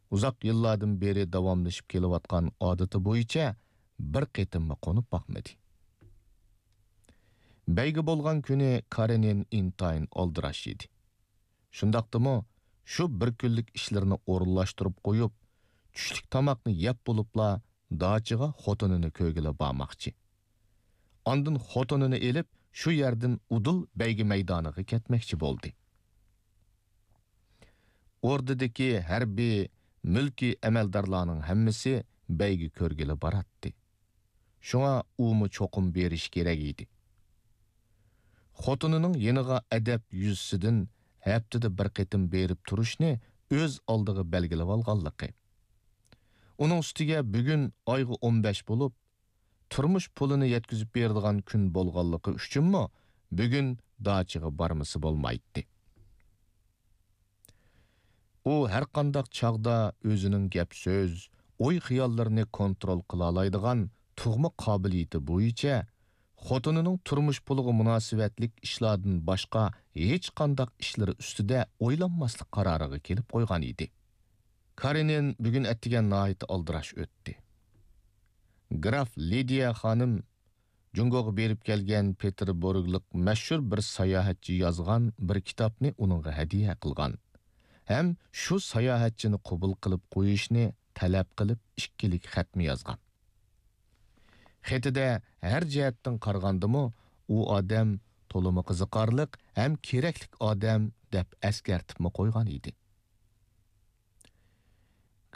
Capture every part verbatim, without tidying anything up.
ئۇزاق يىللاردىن بېرى داۋاملىشىپ كېلىۋاتقان ئادىتى بويىچە بىر قېتىممۇ قونۇپ باقمىدى. بەيگە بولغان كۈنى كارېنىن ئىنتايىن ئالدىراش ئىدى. شۇنداقتىمۇ شۇ بىر كۈنلۈك ئىشلىرىنى ئورۇنلاشتۇرۇپ قويۇپ، چۈشلۈك تاماقنى يەپ بولۇپلا داچىغا خوتۇنىنى كۆرگىلى بارماقچى. ئاندىن خوتۇنىنى ئېلىپ، شۇ يەردىن ئۇدۇل بەيگە مەيدانىغا كەتمەكچى بولدى. ئوردىدىكى ھەربىي، مۈلكىي ئەمەلدارلارنىڭ ھەممىسى بەيگە كۆرگىلى باراتتى. شۇڭا ئۇمۇ چوقۇم بېرىشى كېرەك ئىدى. خوتۇنىنىڭ يېنىغا ئەدەپ يۈزىسىدىن ھەپتىدە بىر قېتىم بېرىپ تۇرۇشنى ئۆز ئالدىغا بەلگىلىۋالغانلىقى، ئۇنىڭ ئۈستىگە بۈگۈن ئايغا ئون بەش بولۇپ، تۇرمۇش پۇلىنى يەتكۈزۈپ بېرىدىغان كۈن بولغانلىقى ئۈچۈنمۇ بۈگۈن داچىغا بارمىسا بولمايتتى. ئۇ ھەرقانداق چاغدا ئۆزىنىڭ گەپ-سۆز، ئوي-خىياللىرىنى كونترول قىلالايدىغان تۇغما قابىلىيىتى بويىچە خوتۇنىنىڭ تۇرمۇش پۇلىغا مۇناسىۋەتلىك ئىشلاردىن باشقا ھېچقانداق ئىشلىرى ئۈستىدە ئويلانماسلىق قارارىغا كېلىپ قويغان ئىدى. كارېنىن بۈگۈن ئەتىگەن ناھايىتى ئالدىراش ئۆتتى. گراف لىدىيە خانىم جۇڭگوغا بېرىپ كەلگەن پېتېربۇرگلۇق مەشھۇر بىر ساياھەتچى يازغان بىر كىتابنى ئۇنىڭغا ھەدىيە قىلغان ھەم شۇ ساياھەتچىنى قوبۇل قىلىپ قويۇشنى تەلەپ قىلىپ ئىككىلىك خەتمۇ يازغان. خېتىدە ھەر جەھەتتىن قارىغاندىمۇ ئۇ ئادەم تولىمۇ قىزىقارلىق ھەم كېرەكلىك ئادەم دەپ ئەسكەرتىپمۇ قويغان ئىدى.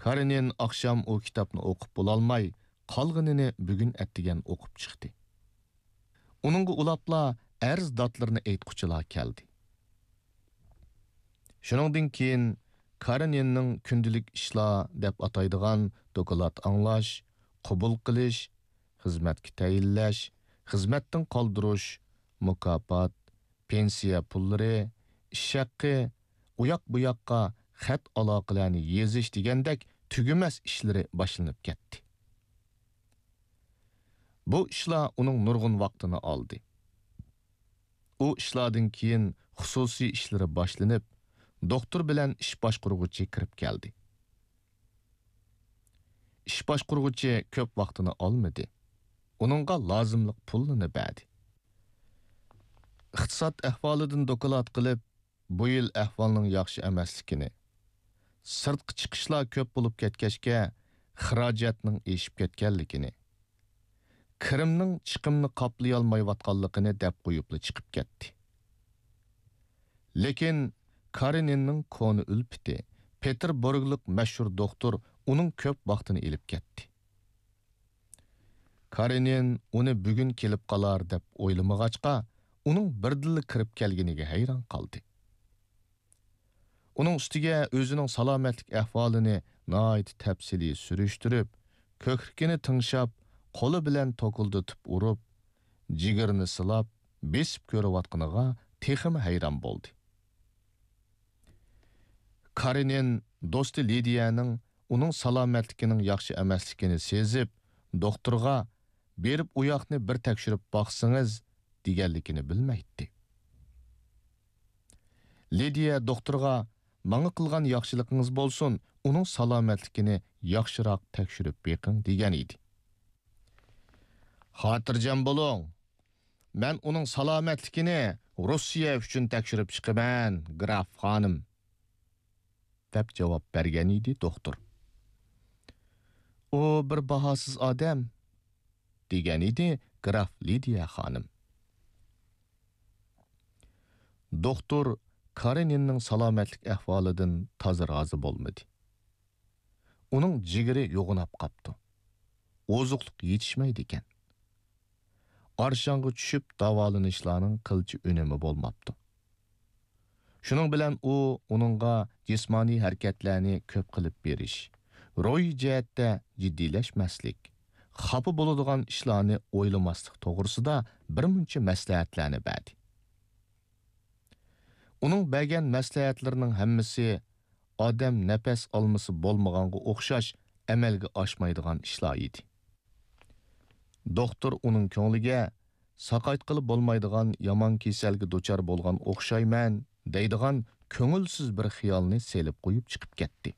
كارېنىن ئاخشام ئۇ كىتابنى ئوقۇپ بولالماي، قالغىنىنى بۈگۈن ئەتىگەن ئوقۇپ چىقتى. ئۇنىڭغا ئۇلاپلا ئەرز داتلىرىنى ئېيتقۇچىلار كەلدى. شۇنىڭدىن كېيىن كارېنىننىڭ كۈندىلىك ئىشلار دەپ ئاتايدىغان دوكلات ئاڭلاش، قوبۇل قىلىش، خىزمەتكە تەيىنلەش، خىزمەتتىن قالدۇرۇش، مۇكاپات، پېنسىيە پۇللىرى، ئىش ھەققى، ئۇياق-بۇياققا خەت ئالاقىلەرنى يېزىش دېگەندەك تۈگىمەس ئىشلىرى باشلىنىپ كەتتى. بۇ ئىشلار ئۇنىڭ نۇرغۇن ۋاقتىنى ئالدى. ئۇ ئىشلاردىن كېيىن خۇسۇسىي ئىشلىرى باشلىنىپ، دوختۇر بىلەن ئىش باشقۇرغۇچى كىرىپ كەلدى. ئىش باشقۇرغۇچى كۆپ ۋاقتىنى ئالمىدى. ئۇنىڭغا لازىملىق پۇلنى بەردى. ئىقتىساد ئەھۋالىدىن دوكلات قىلىپ، بۇ يىل ئەھۋالنىڭ ياخشى ئەمەسلىكىنى، سىرتقا چىقىشلار كۆپ بولۇپ كەتكەچكە، خىراجەتنىڭ ئېشىپ كەتكەنلىكىنى، كىرىمنىڭ چىقىمنى قاپلىيالمايۋاتقانلىقىنى دەپ قويۇپلا چىقىپ كەتتى. لېكىن كارېنىننىڭ كونا ئۈلپىتى، پېتېربۇرگلۇق مەشھۇر دوختۇر ئۇنىڭ كۆپ ۋاقتىنى ئېلىپ كەتتى. كارېنىن ئۇنى بۈگۈن كېلىپ قالار دەپ ئويلىمىغاچقا، ئۇنىڭ بىردىنلا كىرىپ كەلگىنىگە ھەيران قالدى. ئۇنىڭ ئۈستىگە ئۆزىنىڭ سالامەتلىك ئەھۋالىنى ناھايىتى تەپسىلىي سۈرۈشتۈرۈپ، كۆكرىكىنى تىڭشاپ، قولى بىلەن توكۇلدىتىپ ئۇرۇپ، جىگىرىنى سىلاپ، بېسىپ كۆرۈۋاتقىنىغا تېخىمۇ ھەيران بولدى. كارېنىن دوستى لىدىيەنىڭ ئۇنىڭ سالامەتلىكىنىڭ ياخشى ئەمەسلىكىنى سېزىپ، دوختۇرغا «بېرىپ ئۇ ياقنى بىر تەكشۈرۈپ باقسىڭىز» دېگەنلىكىنى بىلمەيتتى. لىدىيە دوختۇرغا «ماڭا قىلغان ياخشىلىقىڭىز بولسۇن، ئۇنىڭ سالامەتلىكىنى ياخشىراق تەكشۈرۈپ بېقىڭ» دېگەن ئىدى. «خاتىرجەم بولۇڭ، مەن ئۇنىڭ سالامەتلىكىنى روسىيە ئۈچۈن تەكشۈرۈپ چىقىمەن، گراف خانىم» دەپ جاۋاب بەرگەن ئىدى دوختۇر. «ئۇ بىر باھاسىز ئادەم» دېگەن ئىدى گراف لىدىيە خانىم. دوختۇر كارېنىننىڭ سالامەتلىك ئەھۋالىدىن تازا رازى بولمىدى. ئۇنىڭ جىگىرى يوغىناپ قاپتۇ. ئوزۇقلۇق يېتىشمەيدىكەن. ئارشاڭغا چۈشۈپ داۋالىنىشلارنىڭ قىلچە ئۈنۈمى بولماپتۇ. شۇنىڭ بىلەن ئۇ ئۇنىڭغا جىسمانىي ھەرىكەتلەرنى كۆپ قىلىپ بېرىش، روھىي جەھەتتە جىددىيلەشمەسلىك، خاپا بولىدىغان ئىشلارنى ئويلىماسلىق توغرىسىدا بىر مۇنچە مەسلىھەتلەرنى بەردى. ئۇنىڭ بەرگەن مەسلىھەتلىرىنىڭ ھەممىسى ئادەم نەپەس ئالمىسا بولمىغانغا ئوخشاش ئەمەلگە ئاشمايدىغان ئىشلار ئىدى. دوختۇر ئۇنىڭ كۆڭلىگە «ساقايتقىلى بولمايدىغان يامان كېسەلگە دۇچار بولغان ئوخشايمەن» دەيدىغان كۆڭۈلسىز بىر خىيالنى سېلىپ قويۇپ چىقىپ كەتتى.